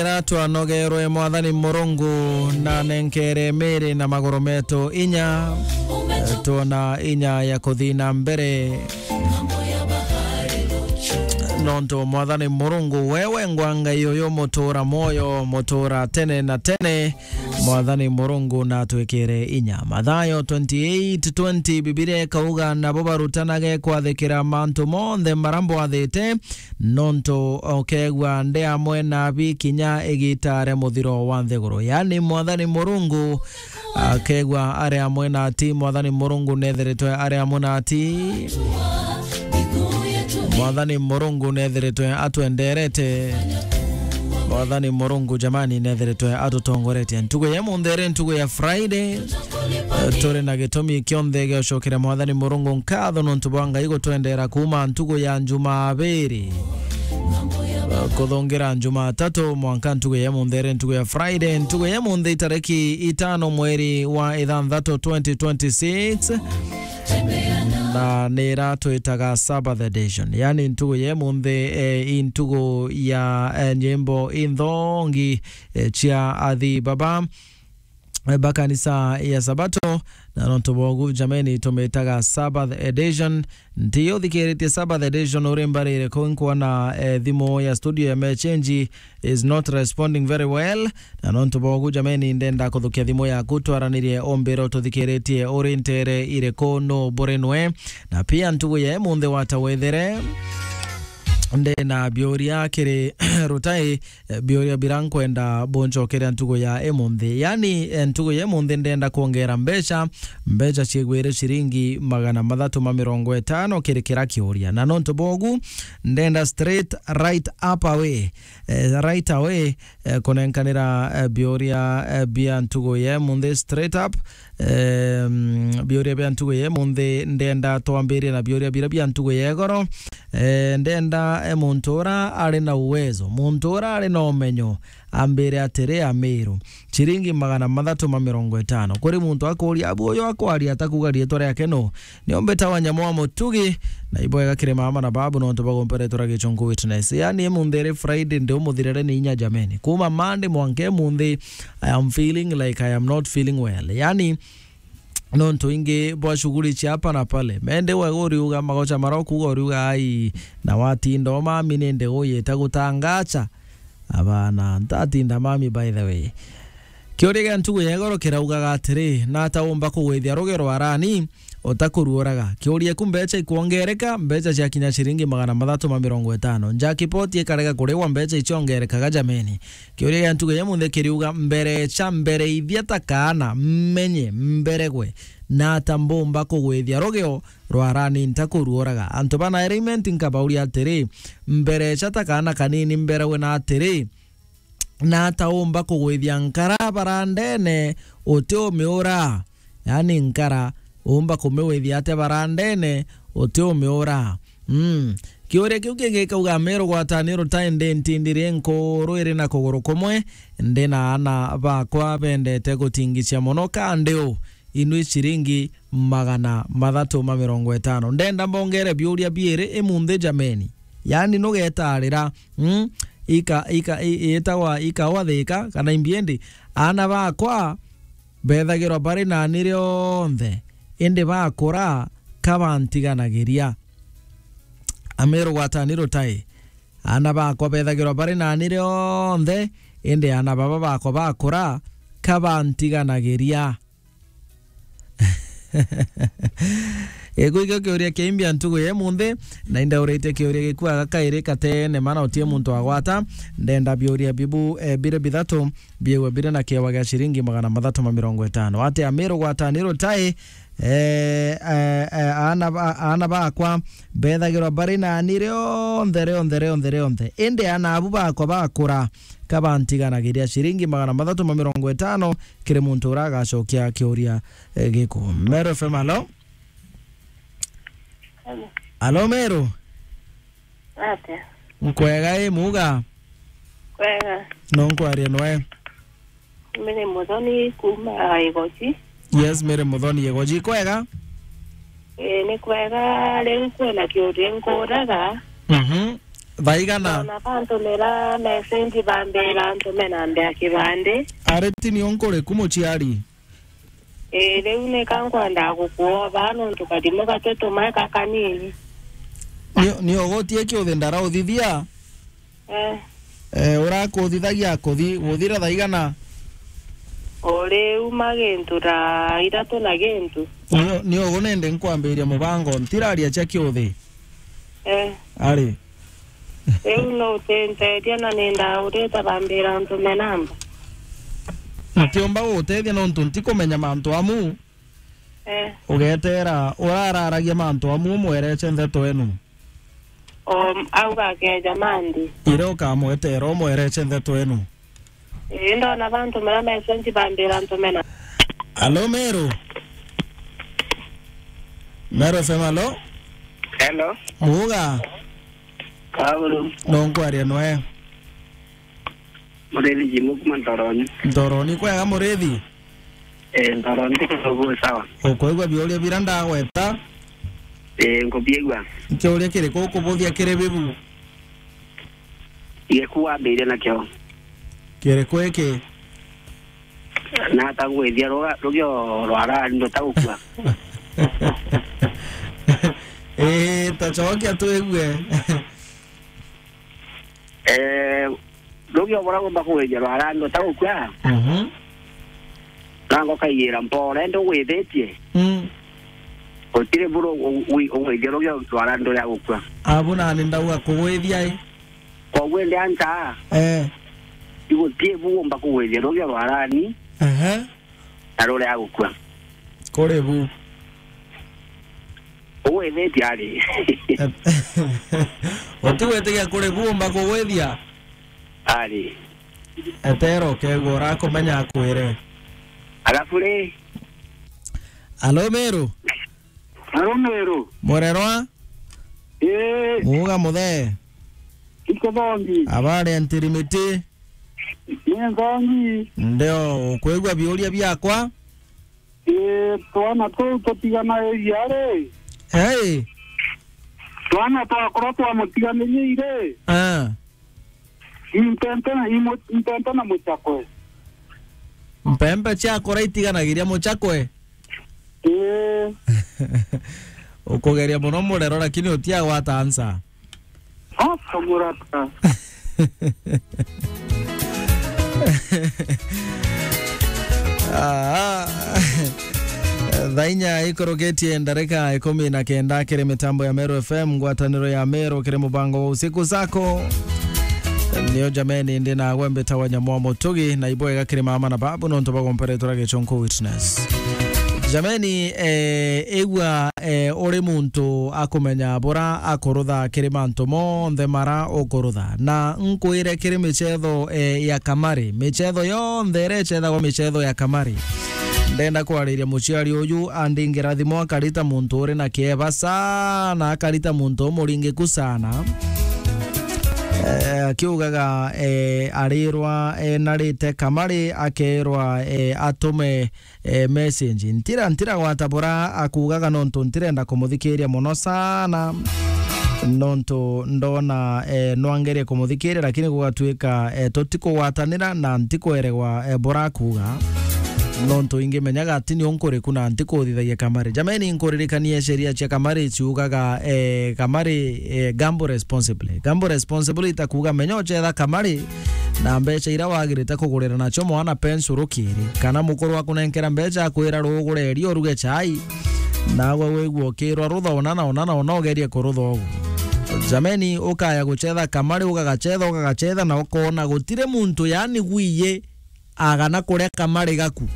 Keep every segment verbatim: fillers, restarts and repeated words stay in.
Ira twanogerwe Mwathani Murungu na nenkere miri na maguru metu inya, twona inya ya kuthi na mbere. Nontu Mwathani Murungu, wewe ngwa Ngai uyu mutura mwoyo, mutura tene na tene. Mwathani Murungu natwikire inya. Mathayo twenty-eight twenty, Bibilia ikauga, "Nabo barutanage kwathikira mantu monthe mara mbwathite, nontu ukegua ndi amwe nabi kinya igita ria muthiro wa nthiguru." Yani, Mwathani Murungu akegua ari amwe nati. Mwathani Murungu nethiritwe ari amwe nati. Mwathani Murungu nethiritwe atwenderete. Mwathani Murungu, jamani, nethiritwe atutongoretie. Ntugu ya munthi iri ntugu ya Friday. Eh, turi na gitumi kionthe gia gucokeria Mwathani Murungu nkatho nontu bwa Ngai gutwendera kuuma ntugu ya Njumabiri, eh, kuthungira Njumatatu, mwanka ntugu ya munthi iri ntugu ya Friday. Ntugu ya munthi itariki itano mweri wa ithanthatu twenty twenty-six, na nira twitaga Sabbath edition, yani ntugu ya munthi, eh, i ntugu ya, eh, nyimbo inthongi, eh, cia athi baba, eh, ba kanisa ya Sabato, na nontu bogu, jameni, tumitaga Sabbath edition. Nti uthikiritie Sabbath edition uri mbarire ku? Nkwona, eh, thimu ya studio ya Mechenji is not responding very well. Na nontu bogu, jameni, ndenda kuthukia thimu yaku, twaranirie umbire ututhikiritie uri ntere iriku, nu buri nwe. Na pia ntugu ya munthi wata wethere, ndena biuria kiri Rutai, eh, biuria bira nkwenda buncokeria ntugu ya imunthi. Yani, eh, ntugu ya imunthi ndenda kwongera mbeca, mbeca ciigwire ciringi magana mathatu ma mirongo itano kiri kira kiuria. Na nontu bogu, ndenda straight right up away, eh, right away, eh, kunenkanira, eh, biuria, eh, bia ntugu ya imunthi straight up. Em, biuria bia ntugu ya imunthi, ndenda twambirie na biuria bira bia ntugu ya igoro. Eh, ndenda, eh, muntu ura ari na uwezo, muntu ura ari na umenyo, ambire atiri, Amiru, ciringi magana mathatu ma mirongo itano. Kuri muntu akuuria, abu uyu akwaria atakuuga riitwa riake nu? Niombe tawa nyamo wa mutugi, na ibwega kiri mama na babu nontu bagomperetwe ra Gichunku Witness. Yani, imunthi iri Friday, ndi umuthirire ni inya, jameni. Kuuma Monday mwanka imunthi, I am feeling like I am not feeling well. Yani, nontu ingi bwa shughuli cia hapa na pale. Mende we uriuga magocha mara ukuuga, uriuga, "Ai, na watinda o mami, ni nde uyita gutangacha?" Abana, ntatinda mami, by the way. Kiuria gia ntugu ya igoro kiraugaga atiri, "Nata umba kugwithia rugi rwa rani utakuruuraga?" Kiuria, ku mbeca ikwongereka, mbeca ciakinya ciringi magana mathatu ma mirongo itano. Njakipoti ikarega kurigwa, mbeca iciongerekaga, jameni. Kiuria gia ntugu ya imunthi kiriuga, mberecha, mbereithia ta kaana, mmenye, mberegwe, nata mbumba kugwithia rugio rwa rani ntakuruuraga? Antu ba Nairement nkabauria atiri, mberecha ta kaana kanini, mberegwe na atiri, nata umba kugwithia nkara barandene utiumiura? Yani nkara umba kumiwithia atia barandene utiumiura? Mm. Kiuria kiu kingi gikauga, Amiru gwatani rutai ndi ntindi ri nkuru iri na kuguru kumwe, ndi na aana bakwa bendete gutingicia mono, ka ndi u? Inui ciringi magana mathatu ma mirongo itano. Ndenda mbongere biuria biiri imunthi, jameni. Yani nugetarira, mm, ika, ika, i-, itagwa ikawa thika kana imbiendi, aana bakwa bethagirwa bari nani rionthe, indi bakura ka bantiganagiria. Amiru gwatani rutai, aana bakwa bethagirwa bari nani rionthe, indi aana baba bakwa bakura ka bantiganagiria. Gikuu ikio kiuria kia imbia ntugu ya imunthi, na indauritie kiuria gikuaga kairi katene mana utie muntu agwata. Ndenda biuria bibu, eh, biri bithatu biigwe biri na kiewa gia ciringi magana mathatu ma mirongo itano. Atia Amiru gwatani rutai, eh, eh, eh, aana ba-, aana bakwa bethagirwa bari nani rionthe, rionthe, rionthe, rionthe. Indi aana abu bakwa bakura ka bantiganagiria. Ciringi magana mathatu ma mirongo itano kiri muntu uria agacokia kiuria, eh, giku. Meru F M, alo? Hello. Alo, Meru? Atia? Nkwega, i muga? Kwega. No nkwaria nwe? Mary Muthoni kuuma Igoji. Yes, Mary Muthoni, Igoji. Kwega? Ii, ni kwega. Riu kwina kiuria nkuraga. Mhm. Thaigana? Ona bantumira message bambira ntume namba ya kibandi. Ari ti ni unkuriku muciari? Ii, riu nika nkwendaa gukuoba nontu kathimu gati tumae ka kanini. Ni, ni ugutie kiuthi ndara uthithia? Eh. Eh, urakuthithagia kuthi, guthira thaigana? O riu ma gintu thaa ithatu na gintu. Ni, ni ugu nende nkwambiria mubango, ntiraria cia kiuthi. Eh. Ari. Riu no utintethia na nindaurite bambira ntume namba. Ntiumba gugutethia nontu ntikumenya mantu amu. Eh. Ugetera urararagia mantu amu umwereche ntheto enu. O, auga akeja mandi. Iria ukamwetera umwereche ntheto enu. Ii, ndona bantu mara message bambira ntume na. Alo, Meru. Meru F M, alo? Hello. Muga. Kaulu. No nkwaria nwe. Murithi Jimu kuma Ntoroni. Ntoroni kwega, Murithi? Eh, Ntoroni kwega, sawa. Ukwigua biuria bira ndagweta? Eh, nkubiigua. Kiuria kiriku ukubuthia kiri bibu? Gikuambire nakio. Kiriku iki? Nata ngwithia ruga-, rugio rwa rari ndutagukua. Ii, ta cokia twigue. Eh, rugio bura gumba kugwithia rwa rari ndutagukua. Mhm. Nango kaigira mpore ndi ugwithitie. Mm. Gutiri buru u-, u-, ugwithia rugio rwa rari nduria gukua. Abu nani ndauga kugwithia i? Koguo indi ancha. Eh. Igutie bu umba kugwithia rugio rwa rani. Ehe. Na ruria gukua. Kuri bu. Ugwithitie ari. Utigwitikia kuri bu umba kugwithia? Ari. Etero ukegua urakumenya akwire. Alafu ri. Alo, Meru. Alo, Meru. Murerwa? Ii. Muga muthe. Iko thongi. Abari antirimiti. Ni nthongi. Ndio, ukwigua biuria biakwa? Ii, twana tuu tutiganagiria ri? Hey. Twana twakura twamutiganirie ri? Ah. Impempe na, imu-, impempe na muchakwe. Mpempe ciakura itiganagiria muchakwe? Ii. Ukugeria muno murero, lakini utiagwata ansa. Oka murata. Ah. Thaa inya ikurukitie ndarika ikumi na kenda kiri mitambo ya Meru F M, ngwataniro ya Meru kiri mubango wa usiku zako. Nio jameni, ndi nagwe mbitagwa Nyamwa Mutugi, na ibwega kiri mama na babu nontu bagomperetwe ra gichunku witness. Jameni, eh, igua, eh, uri muntu akumenya bura akurutha kiri mantu monthe mara ukurutha. Na nkwire kiri michetho, eh, ya kamari, michetho yonthe iria icethagwa michetho ya kamari. Ndenda kwariria muciari uyu andingira thimu akarita muntu uri na kieba sana, akarita muntu umuringiku sana. Eh, akiugaga, eh, arirwa, eh, narite kamari, akerwa, eh, atume, eh, message. Ntira, ntira gwata bura akugaga nontu ntirenda kumuthikiria muno sana. Nontu ndona, eh, nwangerie kumuthikiria, lakini gugatuika, eh, tutikugwatanira na ntikweregwa, eh, bura akuga. Nontu ingimenyaga ati ni unkuriku na ntikuthithagia kamari. Jameni, nkuririkanie sheria cia kamari ciugaga, eh, kamari, eh, gamble responsibly. Gamble responsibly itakuga menya uchetha kamari na mbeca iria wagirite kugurira nacio mwana pencil rukiri, kana mukuru akunenkera mbeca akwira rugure irio uruge chai, nawe wigua ukirwa rutha ona na ona na ona ugerie kurutha ugu. Jameni, ukaya guchetha kamari, ugagachetha, ugagachetha, na ukona gutiri muntu, yani gwiye agana kuria kamari gaku.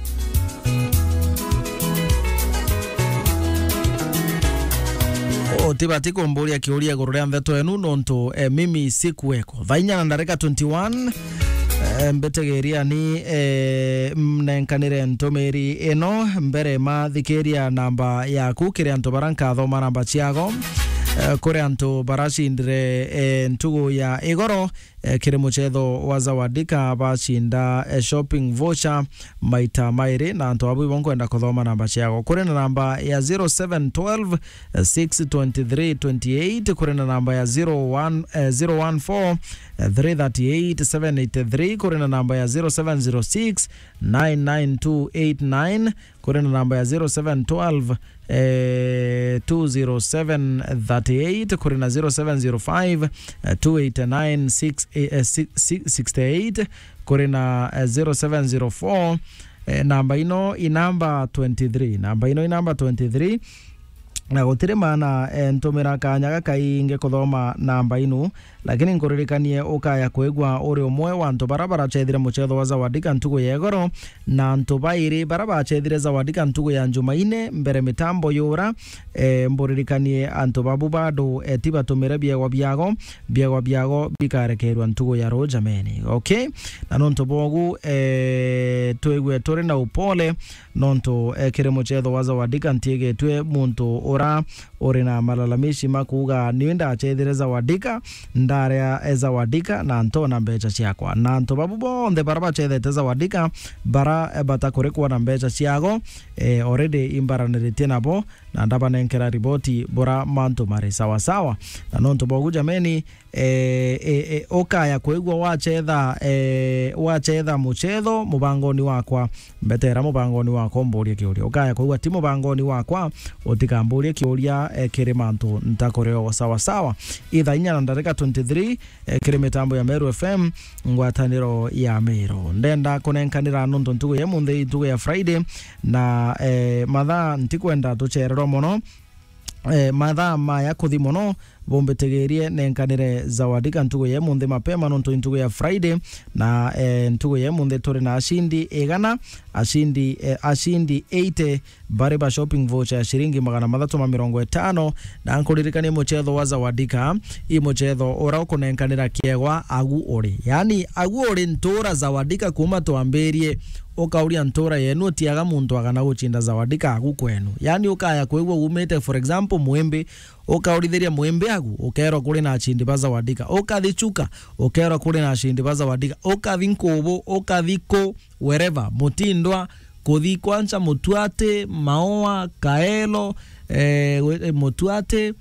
Utibati kumburia kiuria iguru ria ntheto enu nontu, eh, mimi sikuweko. Thaa inya na ndarika twenty-one, eh, mbitigiria ni, eh, mnenkanire ntumiri ino mbere mathikiria namba yaku kiri antu bara nkathoma namba ciago. Eh, kuri antu baracindire, eh, ntugu ya igoro, eh, kiri mucetho wa Zawadika bacinda, eh, shopping voucher maita mairi, na antu abu ibo nkwenda kuthoma namba ciao. Kuri na namba ya zero seven twelve, eh, six twenty-three twenty-eight, kuri na namba ya zero one, eh, zero one four, eh, three thirty-eight seven eighty-three, kuri na namba ya zero seven zero six nine nine two eight nine, kuri na namba ya zero seven twelve, eh, two zero seven thirty-eight, kuri na zero seven zero five, eh, two eight nine six, eh, six, six, sixty-eight, kuri na, eh, zero seven zero four, eh, namba ino i namba twenty-three, namba ino i namba twenty-three, na gutiri maana, eh, ntumira kanya gakaingi kuthoma namba inu, lakini nkuririkanie ukaya kwigua uri umwe wa antu bara baracethire mucetho wa Zawadika ntugu ya igoro, na antu bairi bara bacethire Zawadika ntugu ya Njumaine mbere mitambo yura, eh, mburirikanie antu babu bado, eh, ti batumire biegwa biago, biegwa biago bikarekerwa ntugu ya ruu jameni. Okay? Na nontu bogu, eh, twigue turi na upole, nontu, eh, kiri mucetho wa Zawadika ntigetue muntu ura uri na malalamishi ma kuuga, "Ni ndacethire Zawadika, ndaria, eh, Zawadika, na ntona mbeca ciakwa." Na antu babu bonthe bara bacethete Zawadika, bara, eh, batakurikwa na mbeca ciago, eh, already imbaraniritie nabo, na ndabanenkera riboti bura mantu mari sawa sawa. Na nontu bogu jameni, eh, eh, eh, ukaya kwigua wacetha, eh, wacetha mucetho mubangoni wakwa, mbetera mubangoni wakwa umburie kiuria. Ukaya kwigua ti mubangoni wakwa, utikamburie kiuria, eh, kiri mantu ntakureo sawa sawa. Ithaa inya na ndarika twenty-three, eh, kiri mitambo ya Meru F M, ngwataniro ya Meru. Ndenda kunenkanira nontu ntugu ya munthi, ntugu ya Friday, na, eh, mathaa ntikwenda tucererwa mono. Eh, mathaa maya kuthi mono, bumbitigirie nenkanire Zawadika ntugu ya munthi mapema, nontu ntugu ya Friday, na, eh, ntugu ya munthi turi na ashindi igana, ashindi, eh, ashindi eighty, bari ba shopping voucher ya ciringi magana mathatu ma mirongo itano, na nkuririkanie mucetho wa Zawadika, i mucetho ura ukunenkanira kiegwa agu uri. Yani, agu uri ntura Zawadika kuma twambirie, ukauria ntura yenu utiaga muntu agana gucinda Zawadika agu kwenu. Yani, ukaya kwigua umite, for example, Mwimbi, ukaurithiria Mwimbi agu, ukerwa kuri na acindi ba Zawadika. Ukathi Chuka, ukerwa kuri na acindi ba Zawadika. Ukathi Nkubu, ukathi ku, wherever, Mutindwa, kuthi kwancha Mutuati, Maua, Kaelo, eh, we-, eh, Mutuati,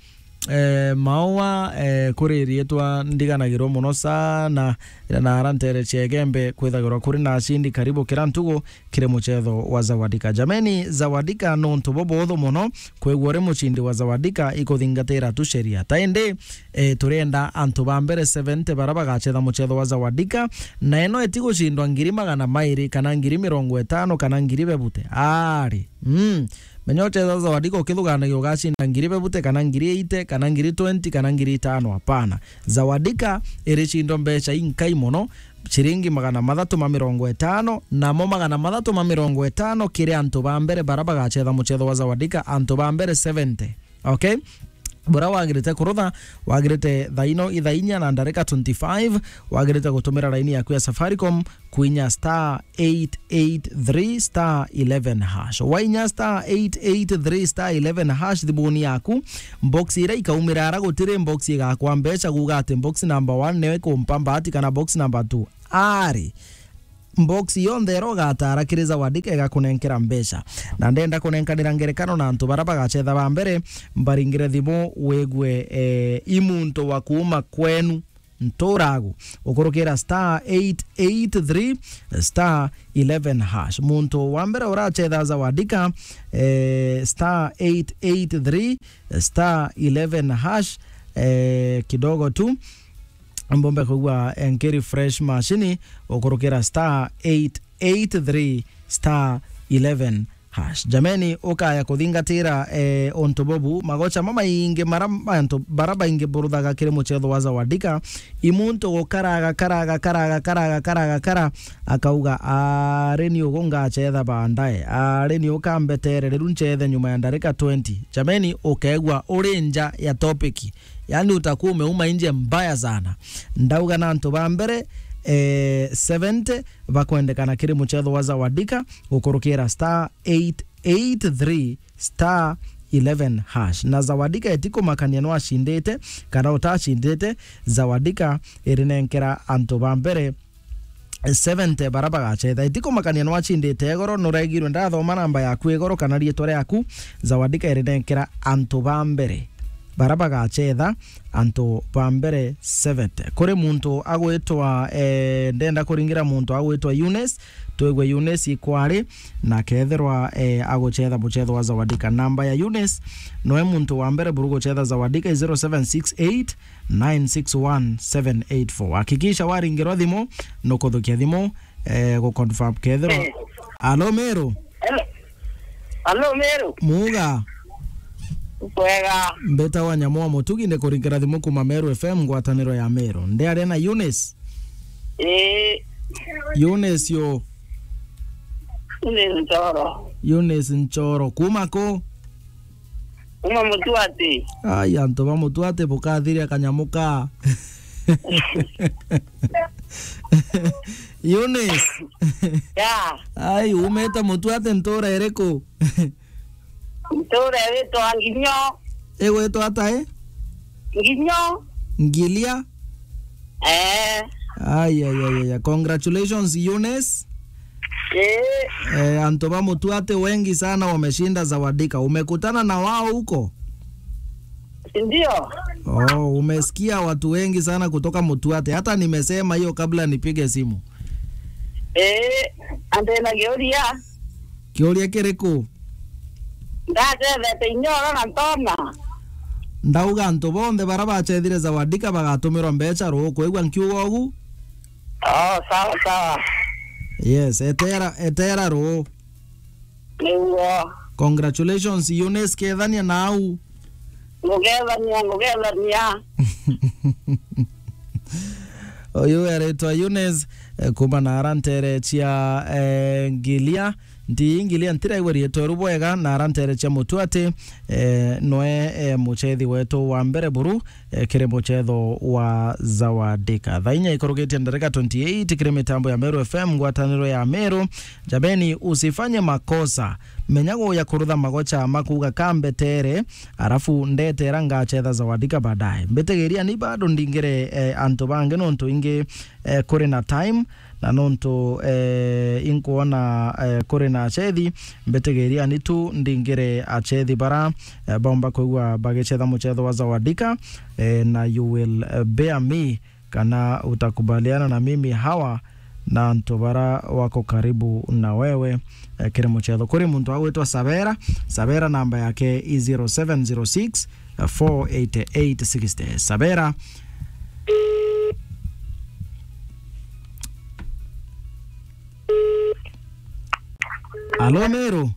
eh, Maua, eh, kuri rietwa ndiganagirwo mono sana, na ara ntere cia Igembe kwithagirwa kuri na acindi karibu kira ntugu kiri mucetho wa Zawadika. Jameni, Zawadika nontu bubuthu mono, kwigua uri mucindi wa Zawadika ikuthingatira tu sheria. Ta indi, eh, turenda antu ba mbere seventy bara bagacetha mucetho wa Zawadika, na ino itigucindwa ngiri magana mairi, kana ngiri mirongo itano, kana ngiri bebute. Ari, mm, menya uchetha Zawadika ukithuganagia ugacinda ngiri bebute, kana ngiri eighty, kana ngiri twenty, kana ngiri itano. Hapana. Zawadika iricindwa mbeca inkai mono, ciringi magana mathatu ma mirongo itano, namo magana mathatu ma mirongo itano kiri antu ba mbere bara bagacetha mucetho wa Zawadika, antu ba mbere seventy. Okay? Bura wagirite kurutha, wagirite thaino ithaa inya na ndarika twenty-five, wagirite gutumira laini yaku ya Safaricom, kwinya star eight eight three star eleven hash. Wainya star eight eight three star eleven hash thimuni yaku, box iria ikaumira ara gutiri box igakwa mbeca, kuuga ati box number one niyo ikumpa mbati kana box number two. Ari, box yonthe iria ugatara kiri Zawadika igakunenkera mbeca. Na ndenda kunenkanira ngerekano na antu bara bagacetha ba mbere, mbaringire thimu wigwe, eh, i muntu wa kuuma kwenu. Nturagu, ukurukira star eight eight three star eleven hash. Muntu wa mbere uracetha Zawadika, eh, star eight eight three star eleven hash, eh, kidogo tu. Mbombe kugua, eh, nkiri fresh machine, ukurukira star eight eight three star eleven hash. Jameni, ukaya kuthingatira, eh, untu bubu, magocha mamaingi mara antu bara baingi buruthaga kiri mucetho wa Zawadika, i muntu gukaraga, karaga, karaga, karaga, karaga, kara, akauga, "Ari ni ugu ngacetha baadaye, ari ni ukambetere riu ncethe nyuma ya ndarika twenty." Jameni, ukegua uri nja ya topic. Yani utakuwa umeuma nje mbaya sana. Ndauga na antu ba mbere, eh, seventy bakwendekana kiri mucetho wa Zawadika, gukurukira star eight eight three star eleven hash. Na Zawadika itikumakania no acindite kana utacindite, Zawadika irinenkera antu ba mbere seventy bara bagacetha. Itikumakania no acindite igoro, nuregirwe ndathoma namba yaku igoro kana riitwa riaku, Zawadika irinenkera antu ba mbere bara bagacetha, antu ba mbere seventy. Kuri muntu agwitwa, eh, ndenda kuringira muntu agwitwa Eunice, twigwe Eunice ikwari, na kethirwa, eh, agucetha mucetho wa Zawadika. Namba ya Eunice, noe muntu wa mbere buru gucetha Zawadika i zero seven six eight nine six one seven eight four. Hakikisha waringirwa thimu, nukuthukia thimu, eh, gu confirm kethirwa. Eh. Alo, Meru? Hello. Alo, Meru? Muga? Kwega. Mbeta wa Nyamu wa Mutugi, ni kuringera thimu kuma Meru F M, ngwataniro ya Meru. Ndi aria na Eunice? Eh. Eunice yo? Eunice Nchoro. Eunice Nchoro. Kuma ku? Kuma Mutuati. Ai, antu ba Mutuati bukathiria kanyamu ka. Eunice. Ya. Ai, umite Mutuati ntura iriku? Ntura iritwa Nginyo. Igwitwa ata, eh? Nginyo. Ngilia? Eh. Ai, ai, ai, ai, ai. Congratulations, Eunice. Eh. Eh, antu ba Mutuati wengi sana wameshinda Zawadika. Umekutana na wao huko? Ndio. Oh, umesikia watu wengi sana kutoka Mutuati. Hata nimesema hiyo kabla nipige simu. Eh, ante na kiuria. Kiuria kiriku? Ndacethete Inyoro na Ntona. Ndauga antu bonthe bara bacethire Zawadika bagatumirwa mbecha ruu. Kwigua nkiuga ugu? Oh, sawa, sawa. Yes, etera, etera ruu. Niguo. Congratulations, Eunice, kethania nau. Ngugethania, ngugethania. Uyu aritwa Eunice, eh, kuma na ara ntere cia, eh, Ngilia. Nti Ngilia ntiraigua riitwa riu bwega, na ara ntere cia Mutuati, eh, noe, eh, muchethi wetu wa mbere buru, eh, kiri muchetho wa Zawadika. Thaa inya ikurugitie ndarika twenty eight kiri mitambo ya Meru F M, ngwataniro ya Meru. Jameni, usifanye makosa. Menya guya kurutha magocha ma kuuga kambetere, arafu ndetera ngachetha Zawadika baadaye. Mbitigiria ni bado ndingire, eh, antu bangi nontu ingi, eh, kuri na time, na nontu, eh, inkwona, eh, kuri na achethi, mbitigiria ni tu ndingire achethi bara, eh, baumba kwigua bagichetha muchetho wa Zawadika, eh, na you will, eh, bear me kana utakubaliana na mimi, hawa na antu bara wako karibu na wewe, eh, kiri muchetho. Kuri muntu agwitwa Sabera, Sabera namba yake i zero seven zero six, four eight eight sixty. Sabera. Alo, Meru?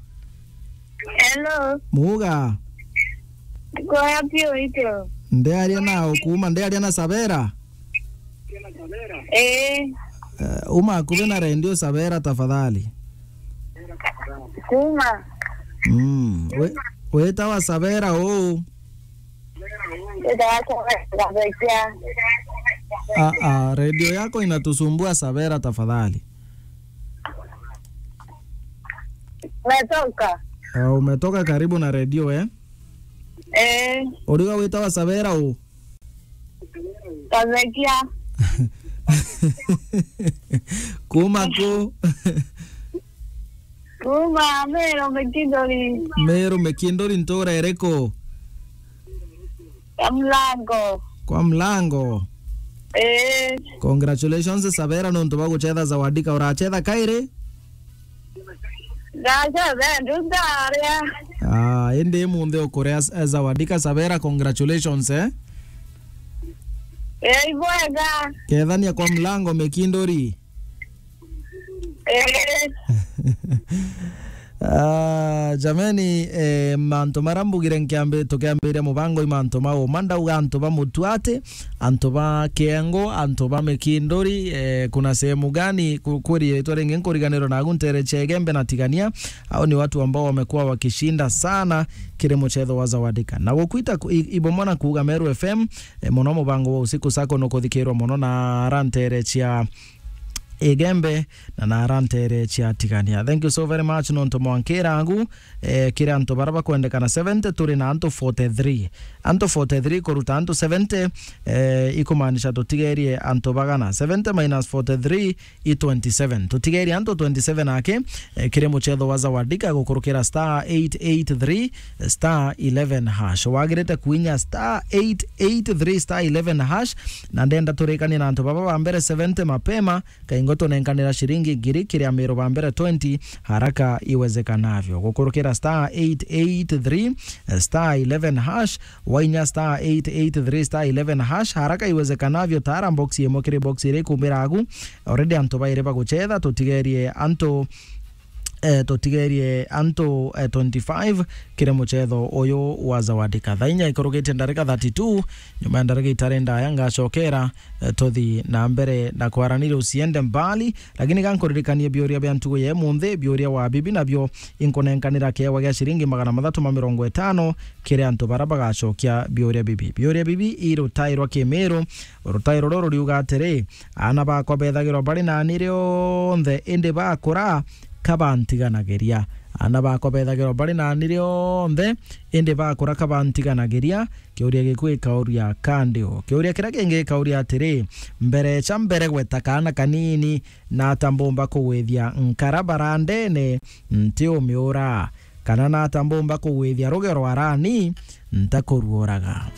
Hello. Muga? Kwega piu itu. Ndiaria na ukuma, ndiaria na Sabera? Eh. Eh, uma akuve na redio Sabera tafadhali. Kuma. Mm. We, wetawa Sabera uu? Wetawa Sabera Kabekia. Ah, ah, redio yako inatusumbua Sabera tafadhali. Umetoka? Ah, umetoka karibu na redio, eh? Eh. Uriga wetawa Sabera uu? Kabekia. Kuma ku? Kuma Meru Mikindori. Meru Mikindori, ntura iriku? Kwa Mlango. Kwa Mlango. Eh. Congratulations, Sabera, nontu bwa guchetha Zawadika. Urachetha kairi? Ndachetha ndu ndaria. Ah, indi munthi ukuria, eh, Zawadika, Sabera, congratulations, eh? Eh, ibwega. Kethania kwa Mlango Mikindori. Eh. Ah, jameni, eh, mantu mara mbugire nkiambi-, tukiambiria mubango i mantu ma uma, ndauga antu ba Mutuati, antu ba Kiengo, antu ba Mikindori, eh, kuna sehemu gani, ku-, kuri ritwa ringi nkuriganirwa nagu ntere cia Igembe na Tigania, au ni watu ambao wamekuwa wakishinda sana kiri muchetho wa Zawadika. Na gukwita ku-, i-, ibomona kuuga Meru F M, eh, muno mubango wa usiku sako nukuthikirwa muno na ara ntere cia Igembe, na narantere cia Tigania. Thank you so very much nontu mwankira angu, eh, kiri antu bara bakwendekana seventy, turi na antu forty-three. Antu forty-three kuruta antu seventy, eh, ikumaanisha tutigerie antu bagana. Seventy minus forty-three i twenty-seven. Tutigerie antu twenty-seven ake, eh, kiri muchetho wa Zawadika gukurukira star eight eight three star eleven hash. Wagirite kuinya star eight eight three star eleven hash, na ndenda turikanie na antu baba ba mbere seventy mapema, kaingo tunenkanira ciringi ngiri kiri amiru ba mbere twenty haraka iwezekanavyo. Gukurukira star eight eight three star eleven hash, wainya star eight eight three star eleven hash, haraka iwezekanavyo, tara box imwe kiri box iria ikumbira agu. Already antu bairi baguchetha, tutigerie antu, eh, tutigerie antu, eh, twenty-five kiri muchetho uyu wa Zawadika. Thaa inya ikurugitie ndarika thirty-two, nyuma ya ndarika itari ndaya ngacokera, eh, tuthi na mbere na kwaraniria. Usiende mbali, lakini gankuririkanie biuria bia ntugu ya imunthi, biuria wa bibi nabio inkunenkanira kiewa gia ciringi magana mathatu ma mirongo itano kiri antu bara bagacokia biuria bibi. Biuria bibi i rutai rwa Kimiru. Rutai ruru ruriuga atiri, "Aana bakwa bethagirwa bari nani rionthe, indi bakura kabantiganagiria. Aana bakwa bethagirwa bari nani rionthe, indi bakura kabantiganagiria." Kiuria gikuu gikauria, ka ndi u? Kiuria kiria kingi gikauria atiri, "Mberecha mbere gweta kaana kanini, nata mbumba kugwithia nkara barandene ntiumiura? Kana nata mbumba kugwithia rugero arani ntakuruuraga?"